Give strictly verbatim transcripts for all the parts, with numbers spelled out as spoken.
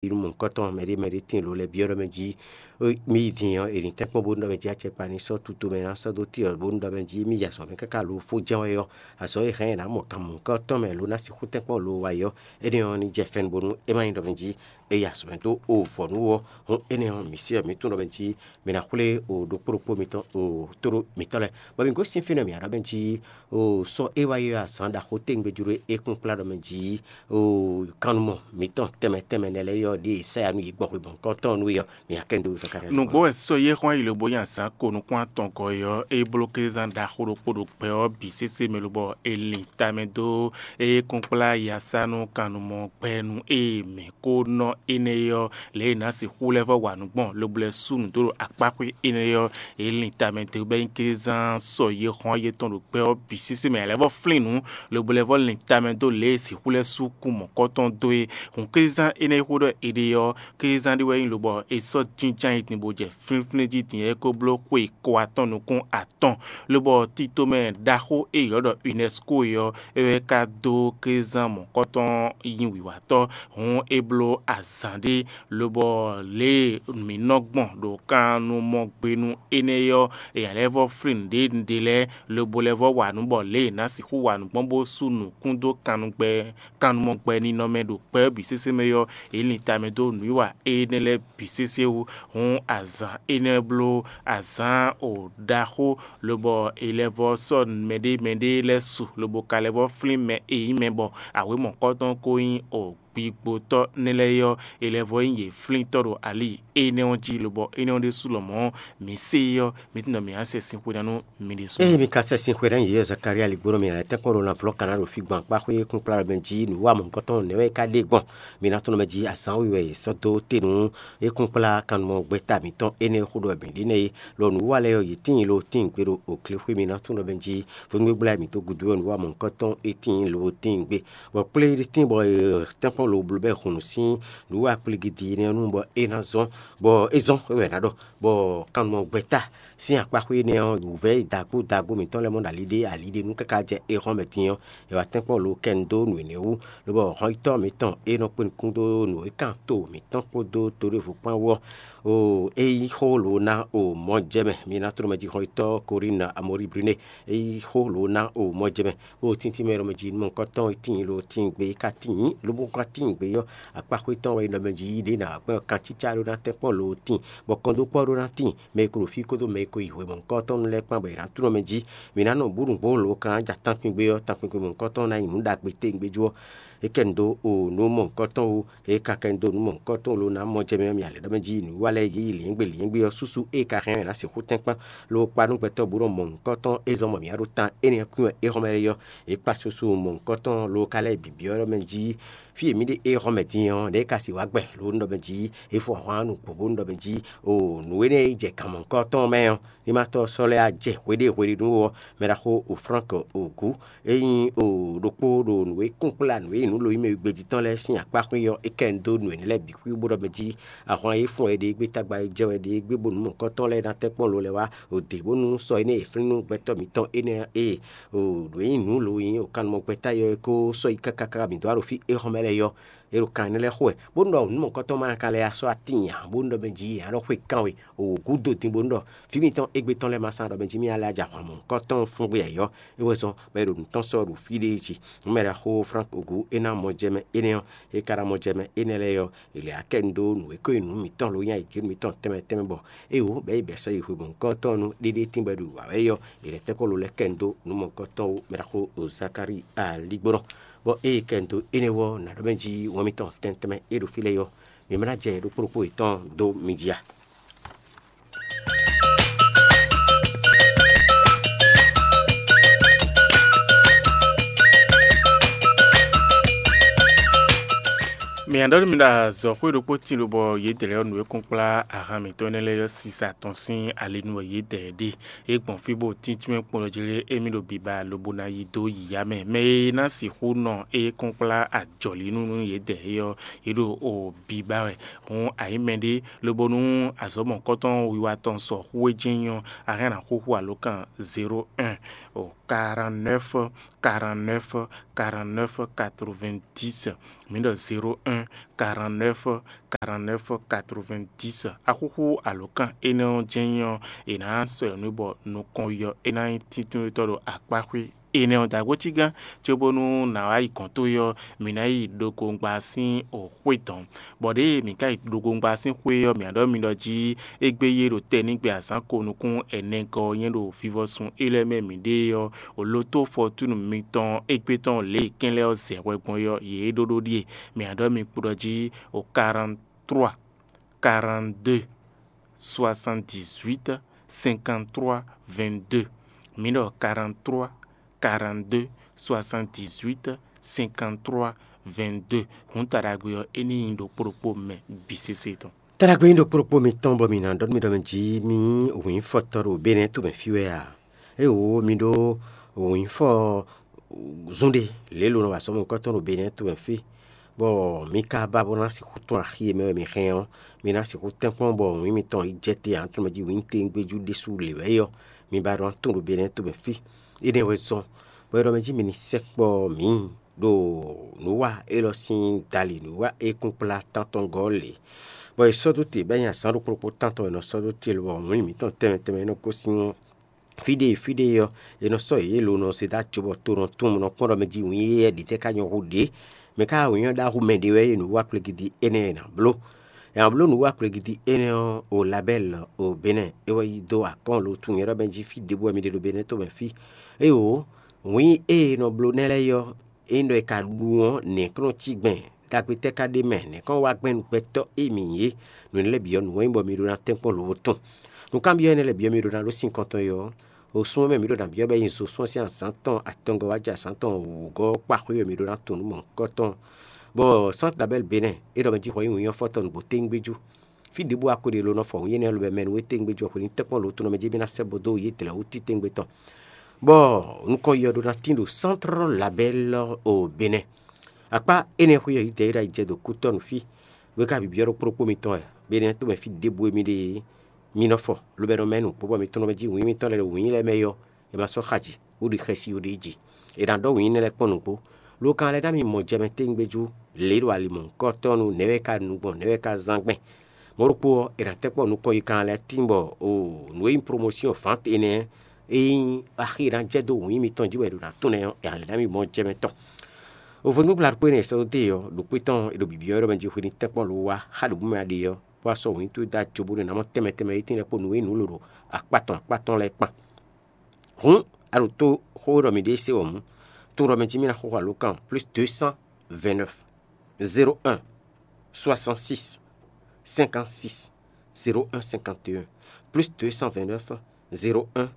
nú mɔ̌hunkɔtɔn mɛɖé mɛɖé tíin lo lɛ́ɛ byɔ́ ɖɔ mɛ jí mì yi din ɔ́, è nǐ tɛ́nkpɔ́n bónú ɖɔ mɛ jí acɛkpa ní sɔ́ tutomɛ ná sɔ́ dó tì ɔ́ bónú ɖɔ mɛ jí mì yi azɔ̌ mɛ káká lo fó jɛ́n wɛ ɔ́, azɔ̌ e hɛn ɛ nǎ mɔ kan mɔ̌hunkɔtɔn mɛ lo ná sixú tɛ́nkpɔ́n lo wa yi ɔ́, énɛ́ ɔ́ ní jɛ fɛ́nú bónú é má nyí ɖɔ mɛ jí é yi azɔ̌ mɛ dó o vɔ̌ nú ɔ́, hǔn énɛ́ ɔ́, mǐ sí ɔ́, mǐ tunwun ɖɔ mɛ jí mǐ ná xwlé o ɖokpó ɖokpó mitɔn o tóɖó mǐtɔn lɛ́ɛ, bɔ mǐ gosín fínɛ́ mǐ ɖɔ mɛ jí o sɔ́ é wá yi ɔ́, azǎn ɖaxó téŋgbé jló é kún kplá ɖɔ mɛ jí o kannumɔ mǐtɔn tɛnmɛ tɛnmɛ nɛ́ lɛ́ɛ ɔ́, ɖěe Isáya nú yě gbɔn xwebɔ̌nkɔ́ tɔn nú é ɔ́, mǐ ná kɛ nyi dó wezɔ́ ká ɖɛ́. Nǔgbó wɛ sɔ́ yé xwán yi lobo nyi azǎn ko nukún-atɔngɔ́ é ɔ́, é bló kézán ɖaxó ɖokpó ɖo gbɛ ɔ́ bǐ sésé mɛ lobɔ è lin tamɛ dó é kún kplá yasánú kannumɔ gbɛnu e mǐ ko nɔ énɛ́ ɔ́, lě e è nǎ sixú lɛ́ vɔ́ wa nǔ gbɔn lobo lɛ́ sú nǔ dó ɖo akpáxwé énɛ́ ɔ́, è lin tamɛ dó bɔ é nyí kézán sɔ́ yé xwán yětɔn ɖo gbɛ ɔ́ bǐ sésé mɛ. È lɛ́ vɔ́ flín nǔ lobo lɛ́ vɔ́ lin tamɛ dó lě e sixú lɛ́ sú kún mɔ̌kɔ́tɔn dó é. Hǔn kézán énɛ́ e xó ɖɔ è ɖe ɔ́, kézán ɖé wɛ nyí lobɔ è sɔ́ jínjɔ́n ayǐ din bó jɛ flínflín jí din é kó bló xwe ko atɔn nukún atɔn, lobɔ titomɛ ɖaxó e è ylɔ́ ɖɔ UNESCO é ɔ́, é wɛ ka dó kézán mɔ̌kɔ́tɔn nyi wǐwatɔ́. Hǔn é bló azǎn ɖé, lobɔ lě e mǐ nɔ gbɔn ɖo kannumɔgbenu énɛ́ ɔ́, è nǎ lɛ́ vɔ́ flín nǔɖé nǔɖé lɛ́ɛ, lobo lɛ́ vɔ́ wa nǔ bɔ lě e è nǎ sixú wa nǔ gbɔn bó sú nǔkún dó kannugbɛ kannumɔgbɛninɔ mɛ ɖo gbɛ ɔ́ bǐ sésé mɛ ɔ́, è lin tamɛ dó nǔwiwa énɛ́ lɛ́ɛ bǐ sésé wú. Hǔn azǎn énɛ́ bló azǎn o ɖaxó, lobɔ è lɛ́ vɔ́ sɔ́ mɛɖé mɛɖé lɛ́ɛ su, lobo ka lɛ́ vɔ́ flín mɛ e nyí mɛ bɔ awě mɔ̌kɔtɔn ko nyí o gbigbotɔ́ nɛ́ lɛ́ɛ é ɔ́, è lɛ́ vɔ́ nyí yě flíntɔ́ ɖo ali énɛ́ ɔ́ jí, lobɔ énɛ́ ɔ́ ɖésú lɔmɔ̌ mǐ se é ɔ́, mi tunwun ɖɔ mǐ ná sɛ sin xwe ná nú mi ɖésú. Ée mi ka sɛ sin xwe ná nyi yě Zakalía ligbónɔ mǐ ná lɛ́ tɛ́nkpɔ́n ɖo lanvlɔ́ Kaná ɖo fí gbɔn akpáxwé kúnkplá mɛ jí nǔwanmɔ̌kɔtɔn nɛ̌ wɛ é ka ɖe gbɔn? Mi ná tunwun mɛ jí azǎn we wɛ è sɔ́ dó te nú é kúnkplá kannumɔ gbɛ́ta mǐtɔn énɛ́ e xó ɖɔ wɛ mǐ ɖe nɛ́ é. Lɔ nǔwa lɛ́ɛ ɔ́, yě tíin lo tíin gbe ɖo oklexwé mi ná tunwun ɖɔ mɛ jí vodúngbégbla e mǐ dó gúdo ɔ́, nǔwanmɔ̌kɔtɔn é tíin lo tíin gbe. Bɔ kplé ɖé tíin bɔ è tɛ́nkpɔ́n lo bló bɔ è hun nǔ sín nǔwa kpligidi énɛ́ ɔ́ nu bɔ é ná zɔ́n, bɔ é zɔ́n é wɛ è nǎ ɖɔ, bɔ kannumɔ gbɛ́ta sín akpáxwé énɛ́ ɔ́, wǔvɛ́ e dagbó dagbó mǐtɔn lɛ́ɛ mɔ ɖo ali ɖé ali ɖé nú káká jɛ éhɔ́n mɛ din ɔ́, è wǎ tɛ́nkpɔ́n lo kɛ nu dó nǔ énɛ́ wú, lobɔ hɔnyitɔ́ mǐtɔn e nɔ kpé nukún dó nǔ e kan to mǐtɔn kpódó to ɖěvo kpán wú ɔ́, o é yí xó lǒ ná o mɔ jɛ mɛ. Mi ná tló mɛ jí hɔnyitɔ́ Korín Amɔríblínɛ, é yí xó lǒ ná o mɔ jɛ mɛ. Bó tíntín mɛ ɖɔ mɛ jí nú mɔ̌hunkɔtɔn e tíin lo tíin gbe, é ka tíin, lobo ka tíin gbe ɔ́, akpáxwé tɔn wɛ é nɔ mɛ jí yí ɖě ná gbɛ́ kancícá ɖó ná tɛ́nkpɔ́n lo tíin, bɔ kɔndókpɔ́ ɖó ná tíin, mɛ e ko ɖo fí kpódó mɛ e ko yi hwemɔ̌hunkɔtɔn lɛ́ɛ kpán bɔ è nǎ tló mɛ jí. Mǐ ná nɔ bǔ nǔgbó lǒ kan ná ja tankpingbe ɔ́, tankpingbe mɔ̌hunkɔtɔn ná nyí nǔ ɖagbe tégbé jú ɔ́. É kɛ nu dó o nǔ mɔ̌hunkɔtɔn wú, é ka kɛ nu dó nǔ mɔ̌hunkɔtɔn lo ná mɔ jɛ mɛ ɔ́, mǐ alě ɖɔ mɛ jí nǔwiwa lɛ́ɛ yě yi lǐngbé lǐngbé ɔ́, súsú é ka hɛn ɛ ná sixú tɛ́nkpán, lo kpa nú gbɛtɔ́ bú ɖɔ mɔ̌hunkɔtɔn é zɔ́n bɔ mǐ wá ɖó tan énɛ́ kwín wɛ é xɔ́mɛ lɛ́ɛ yɔ́. Yě kpa susu mɔ̌hunkɔtɔn lo ka lɛ́ bǐ byɔ́ ɖɔ mɛ jí fí e mǐ ɖe é xɔ́mɛ din ɔ́, ɖěe ka sixú wá gbɛ lo nú ɖɔ mɛ jí é fɔ ahwan nú gbǒ bónú ɖɔ mɛ jí o nǔ énɛ́ e jɛ kan mɔ̌hunkɔtɔn mɛ ɔ́, ní ma tɔ́ sɔ́ lɛ́ á jɛ hweɖée hweɖénu ɔ́, mɛ ɖaxó o Flánk Ogǔ, é nyí o ɖokpó ɖo nǔ e kún kplá nǔ e nyí nǔ lo nyí mɛ e gbé jí tɔn lɛ́ɛ sín akpá xwé ɔ́, é kɛ nu dó nǔ énɛ́ lɛ́ɛ bǐ xwí bó ɖɔ mɛ jí ahwan e fɔ́n wɛ ɖe gbé, tagba e jɛ wɛ ɖe gbé, bónú mɔ̌hunkɔtɔn lɛ́ɛ ná tɛ́nkpɔ́n lo lɛ́ɛ wá o dě bónú sɔ énɛ́ e flín nú gbɛtɔ́ mǐtɔn énɛ́ e o nǔ e nyí nǔ lo nyí o kannumɔ gbɛ́ta yɔ é kó sɔ́ yi káká káká mǐ dó wá ɖo fí é xɔ́mɛ lɛ́ɛ yɔ. É ɖo kan énɛ́ lɛ́ɛ xo wɛ, bónú ɖɔ nǔ mɔ̌hunkɔtɔn ma ka lɛ́ ya sɔ́ atín ǎ, bónú ɖɔ mɛ jí ǎ ɖɔ xwé kan we, o gǔdo din bónú ɖɔ fí mitɔn égbé tɔn lɛ́ɛ ma sán ɖɔ mɛ jí mì alɛ aja hwan mɔ̌hunkɔtɔn fúngbé ayɔ. É wɛ zɔ́n bɔ é ɖo nǔ tɔn sɔ́ ɖo fí ɖé jí. Nǔ mɛ ɖaxó Flánk Ogǔ é ná mɔ jɛ mɛ énɛ́ ɔ́, é ka ná mɔ jɛ mɛ énɛ́ lɛ́ɛ ɔ́, è lɛ akɛ nu dó nǔ e ko nyí nǔ mǐtɔn lo nyí ayǐjínú mǐtɔn tɛnmɛ tɛnmɛ bɔ é wǒ bɛ̌ yi bɛ̌ sɔ́ yi hwemɔ̌hunkɔtɔn nú ɖéɖé tíngbɔ é ɖo wǎ wɛ é ɔ́, è lɛ̌ tɛ́nkpɔ́n lo lɛ́ kɛ nu dó nǔ mɔ̌hunkɔtɔn wú. Mɛ ɖaxó Zakalía ligbónɔ. Bɔ ée kɛ nu dó énɛ́ wú ɔ́, nǎ ɖɔ mɛ jí wɛn mitɔn tɛnmɛ tɛnmɛ e ɖo fí lɛ́ɛ ɔ́, mi ma ná jɛ ɖokpó ɖokpó yětɔn dó mi jí a? Mǐ ná ɖɔ nú mi ɖɔ azɔ̌xwé ɖokpó tíin lobɔ yědɛɛ lɛ́ɛ ɔ́, nǔ e kún kplá ahan mǐtɔn énɛ́ lɛ́ɛ ɔ́, sisa tɔn sín ali nu wɛ yědɛɛ ɖe. É gbɔn fí bó tíntín mɛ kpɔ́n ɖɔ jí lé émí ɖo biba lobo ná yi dó yǐyá mɛ. Mɛ e ná sixú nɔ é kún kplá ajɔ̌línú nú yědɛɛ é ɔ́, yě ɖo o biba wɛ. Hǔn a nyǐ mɛɖé lobo nú azɔ̌ mɔ̌hunkɔtɔn wiwa tɔn sɔ xú é jɛ́n nyí ɔ́, a hɛn ná xúxú alǒkan zéro un o quarante-neuf quarante-neuf quarante-neuf quatre-vingt-dix. Mǐ ɖɔ zéro un quarante-neuf, quarante-neuf, quatre-vingt-dix. Axúxú alǒkan énɛ́ ɔ́ jɛ́n nyí ɔ́, è nǎ sɔ́ ɛ nú bɔ nukɔn yɔ é ná nyí tíntunwetɔ́ ɖo akpáxwé énɛ́ ɔ́ dǎgbócígán, cóbónú nǎ wá yi gɔ̌n towe ɔ́, mǐ ná yi ɖokongba sín xwé dɔ̌n. Bɔ ɖěe mǐ ka yi ɖokongba sín xwé ɔ́, mǐ ná ɖɔ mi ɖɔ jí égbé yé ɖo tɛ́ nígbɛ azǎn ko nukún ɛnɛgɔ́ ɔ́ nyɛ́ ɖo vivɔsun élɔ́ mɛ mǐɖée ɔ́, o lotó fɔtúnu mitɔn égbé tɔn lě e kɛ́n lɛ́ɛ ɔ́ zɛ hwɛ gbɔn é ɔ́, yě ɖó ɖó ɖíe. Mǐ ná ɖɔ mi kpo ɖɔ jí o quarante-trois, quarante-deux, soixante-dix-huit, cinquante-trois, vingt-deux. Mǐ ɖɔ quarante-trois, quarante-deux, soixante-dix-huit, cinquante-trois, vingt-deux. Hǔn taɖagbe ɔ́, é ní nyí ɖokpó ɖokpó mɛ bǐ sésé tɔn. Taɖagbe nyí ɖokpó ɖokpó mitɔn bɔ mǐ ná ɖɔ nú mi ɖɔ mɛ jí mì nyí wǐnfɔtɔ́ ɖo Benɛ́ɛ to mɛ fí wɛ a? Éeǒ, mi ɖó wǐnfɔ zún ɖé lě e lo nɔ wa sɔ́ mɔ̌hunkɔtɔn ɖo Benɛ́ɛ to mɛ fí, bɔ mi ka ba bó ná sixú tɔ́n axi e mɛ wɛ mi hɛn ɔ́, mi ná sixú tɛ́nkpɔ́n bɔ wǐn mitɔn yi jɛ te ǎ, tɔn mɛ jí wǐn tégbéjú ɖésú lě wɛ é ɔ́, mi ba ɖó ná tunwun ɖo Benɛ́ɛ to mɛ fí. Énɛ́ wɛ zɔ́n, bɔ é ɖɔ mɛ jí mi ní sɛkpɔ́ mǐ ɖo nǔwa élɔ́ sín dali nǔwa e kún kplá tántɔngɔ́ lě, bɔ è sɔ́ dó te bɔ é nyí azǎn ɖokpó ɖokpó tántɔn è nɔ sɔ́ dó te lobɔ wǐn mǐtɔn tɛnmɛ tɛnmɛ e nɔ gosín fí ɖé fí ɖé ɔ́, è nɔ sɔ́ yě lo nɔ se dó ajo bɔ to nɔ tunwun nɔ kpɔ́n ɖɔ mɛ jí wǐn éyɛ́ ɖě tɛ́ ka nyɔ́ hú ɖě. Mɛ ká wǐn ɔ́ ɖó ahu mɛ ɖé wɛ é nǔ wa kplégídí énɛ́ e è nǎ bló. È nǎ bló nǔ wa kplégídí énɛ́ ɔ́, o Labɛ́li o Benɛ́ɛ é wɛ yi dó akɔ́n lo tunwun nyɛ ɖɔ mɛ jí fí ɖěbǔ wɛ mi ɖe ɖo Benɛ́ɛ to mɛ fí. Éeǒ, wǐn e è nɔ bló nɛ́ lɛ́ɛ ɔ́, ényí ɖɔ è ka ɖu ɔ́, nɛ̌ kɔn nɔ cí gbɛn? Ɖagbe tɛ́ ka ɖ'é mɛ? Nɛ̌ kɔn wá gbɛn nú gbɛtɔ́ e mǐ nyí é? Nǔ énɛ́ lɛ́ɛ bǐ ɔ́, nǔ wɛ nyí bɔ mi ɖó ná tɛ́nkpɔ́n lobo tɔn. Nǔkanbyɔ́ énɛ́ lɛ́ɛ bǐ ɔ́, mi ɖó ná ɖó sín kɔntɔn é ɔ́, o sún ɔ́ mɛ mǐ ɖo nǎ byɔ́ bɔ é nyí zo sún ɔ́ sín azǎn tɔn atɔngɔ́ wá jɛ azǎn tɔn wǔgɔ́ kpá xwé wɛ mǐ ɖó ná tunwun nú mɔ̌hunkɔtɔn. Bɔ Sánti Labɛ́li Benɛ́ɛ é ɖɔ mɛ jí hwɛ nyí wǐnyɔ́fɔ́tɔn nǔgbó téŋgbéjú. Fí ɖěbǔ a ko ɖe lo nɔ fɔ wǐnyɛ́nɛ lobɛ mɛ nú we téŋgbéjú ɔ́ hwenu tɛ́nkpɔ́n lo tɔn nɔ mɛ jí mì ná sɛ́ bo dó yě dlɛ̌ wú títɛ́ngbé tɔn. Bɔ nukɔn yɔ ɖó ná tín ɖo Sántrɔ́ Labɛ́li o Benɛ́ɛ. Akpá énɛ́ xwé ɔ́, yǐdɛɛ e ɖo ayi jɛ ɖo kútɔ́ nú fí. We ka byɔ́ ɖokpó ɖokpó mitɔn wɛ, Benɛ́ɛ to mɛ fí ɖěbǔ e mi ɖe é, mi nɔ fɔ, lobo nɔ mɛ nǔgbó bɔ mi tɔn nɔ mɛ jí wǐn mitɔn lɛ́ɛ ɖo wǐn lɛ́ɛ mɛ é ɔ́, è ma sɔ́ xa jǐ, bó ɖi xɛsi ó ɖ'é jí. È nǎ ɖɔ wǐn énɛ́ lɛ́ɛ kpɔ́n nǔgbó. Lo kan lɛ́ɛ ná mi mɔ jɛ mɛ téŋgbéjú, lě e ɖo ali mɔ̌hunkɔtɔn nu, nɛ̌ wɛ é ka nu gbɔn, nɛ̌ wɛ é ka zán gbɛn. Mɔ̌ ɖokpó ɔ́, è nǎ tɛ́nkpɔ́n nukɔn yi kan lɛ́ɛ tín bɔ o nǔ e nyí promosíɔn vǎnte énɛ́ e nyí axi e ná jɛ dó wǐn mitɔn jí wɛ è ɖo ná tunwun ɛ ɔ́, è nǎ lɛ́ ná mi mɔ jɛ mɛ tɔn. Ovodúngbla ɖokpó énɛ́ è sɔ́ dó dó e ɔ́, ɖo kpé tɔn è ɖo bǐbyɔ́ wɛ ɖɔ mɛ jí hwenu tɛ́nkpɔ́n lo wá xá ɖo bǔ mɛ a ɖe ɔ́, bó wá sɔ́ wǐntu dó ajo bónú è nǎ mɔ tɛnmɛ tɛnmɛ e tínlɛ́ kpó nǔ e nyí nǔ lǒ ɖo akpá tɔn akpá tɔn lɛ́ɛ kpán. Hǔn, a ɖo tó xó e ɖɔ mǐ ɖe é se wɔ̌ mú. Tunwun ɖɔ mɛ jí mì ná xo xo alǒkan plus deux cent vingt-neuf, zéro un, soixante-six, cinquante-six, zéro un, cinquante et un, plus deux cent vingt-neuf, zéro un,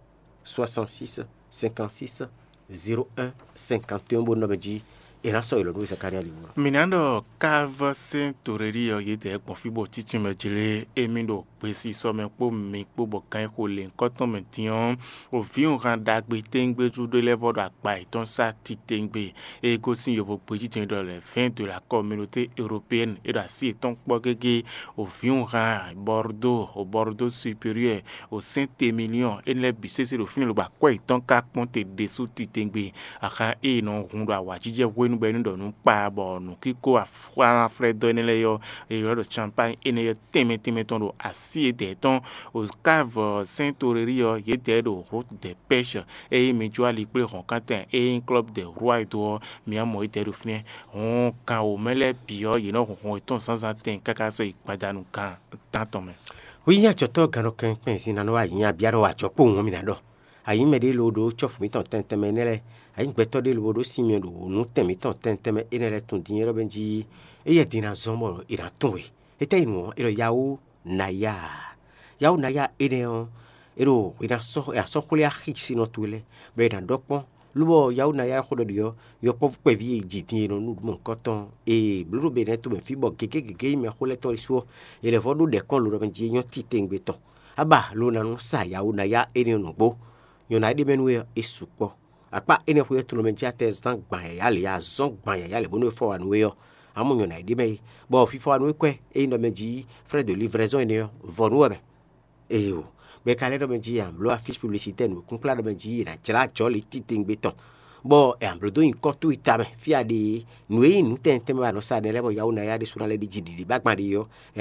soixante-six, cinquante-six, zéro un, cinquante et un bó nɔ mɛ jí è nǎ sɔ́ yě lɔ nú Zakalía lǐbǔ. Mǐ ná ɖɔ káva sɛ́n torelí ɔ́ yědɛɛ gbɔn fí bɔ títí mɛ jlé émí ɖo gbesisɔ mɛ kpó mi kpó bɔ gǎn e xo lěhunkɔtɔn mɛ din ɔ́, o vǐwunhan ɖagbe téŋgbéjú ɖé lɛ́ɛ vɔ ɖo akpa yětɔn sá titewungbe. E gosín yovo gbejítɔn e ɖɔ lɛ̌ vɛ̌ɛn de la communauté européenne e ɖo así yětɔn kpɔ́ gégé, o vǐwunhan Bordeaux, o Bordeaux supérieur, o Saint-Émilion, énɛ́ lɛ́ɛ bǐ sésé ɖo fínɛ́ lobo akwɛ́ yětɔn ka kpɔ́n te ɖésú titewungbe. Axan e è nɔ hun ɖo awǎjijɛ hwenu bɔ é ní ɖɔ nǔ kpa bɔ nǔkíko aflɛ́dɔ́ énɛ́ lɛ́ɛ ɔ́, è ylɔ́ ɖɔ Champagne énɛ́ ɔ́ tɛnmɛ tɛnmɛ tɔn ɖo así e dɛ̌ tɔn. O Cave Saint-Aurélie ɔ́, yědɛɛ ɖo Route des Pêches. Ényí mi jó ali kplé hɔ̌nkántɛn e nyí Club des Rois dó ɔ́, mi wá mɔ yědɛɛ ɖo fínɛ́. Hɔn kan wǒ mɛ lɛ́ɛ bǐ ɔ́, yě nɔ hun hɔn yětɔn zǎnzǎn tɛn káká sɔ́ yi gbadanu gan tántɔn mɛ. Hwi nyí ajɔ̌tɔ́ gannɔkɛn kpɛn zin ná nɔ wá yǐ nya bia nɔ wa ajɔ̌ kpowun ɔ́ mi ná ɖɔ. Ayǐ mɛ ɖé loo ɖó cɔ́fu mǐtɔn tɛnmɛ tɛnmɛ énɛ́ lɛ́ɛ, ayǐ gbɛtɔ́ ɖé loo ɖó sin myɔ ɖo wǒ nú tɛn mǐtɔn tɛnmɛ tɛnmɛ énɛ́ lɛ́ɛ tun din é ɖɔ mɛ jí éyɛ́ din ná zɔ́n bɔ è nǎ tunwun we. Étɛ́ yi nǔ ɔ́, é ɖɔ yawó naya. Yawó naya énɛ́ ɔ́, é ɖo è nǎ sɔ́ è nǎ sɔ́ xwlé axi sinɔ towe lɛ́ɛ, bɔ è nǎ ɖɔ kpɔ́n. Lobɔ yawó naya e xó ɖɔ ɖi ɔ́, yɔkpɔ́vú kpɛví e ji din e nɔ nú nǔɖuɖu mɔ̌hunkɔtɔn e blǒ ɖo Benɛ́ɛ tomɛ fí bɔ gěgé gěgé nyí mɛxó lɛ́ɛ tɔn ɖésú ɔ́, è lɛ̌ vɔ́ ɖó ɖɛ̌kɔ́n lo ɖɔ mɛ jí é nyɔ́ titewungbe tɔn. Abá lo ná nɔ sa yawó naya énɛ́ ɔ́ nǔgbó. Nyɔ̌ná e ɖ'é mɛ nú we ɔ́, é sukpɔ́. Akpá énɛ́ xwé ɔ́, tlɔmɛ jí atɛ zán gbǎn yǎyá lě, azɔ́n gbǎn yǎyá lě bónú é fɔ wá nú we ɔ́, amɔ̌ nyɔ̌ná e ɖ'é mɛ é, bɔ fífɔ wá nú we kwɛ́ e nyí ɖɔ mɛ jí frais de livraison énɛ́ ɔ́, vɔ nú wɛ mɛ. Eyo, bɔ è ka lɛ́ ɖɔ mɛ jí a blǒ afísi publicitaire nǔkúnkplá ɖɔ mɛ jí è nǎ jlá jɔ̌li titewungbe tɔn, Bɔ è nǎ bló dó nyǐkɔ towe tamɛ fí a ɖe é. Nǔ e nyí nǔ tɛnmɛ tɛnmɛ bɔ a nɔ sa ɖɛ lɛ́ɛ bɔ Yawó ná yá ɖésú ná lɛ́ ɖi jǐɖiɖi bó agban ɖe ɔ́, è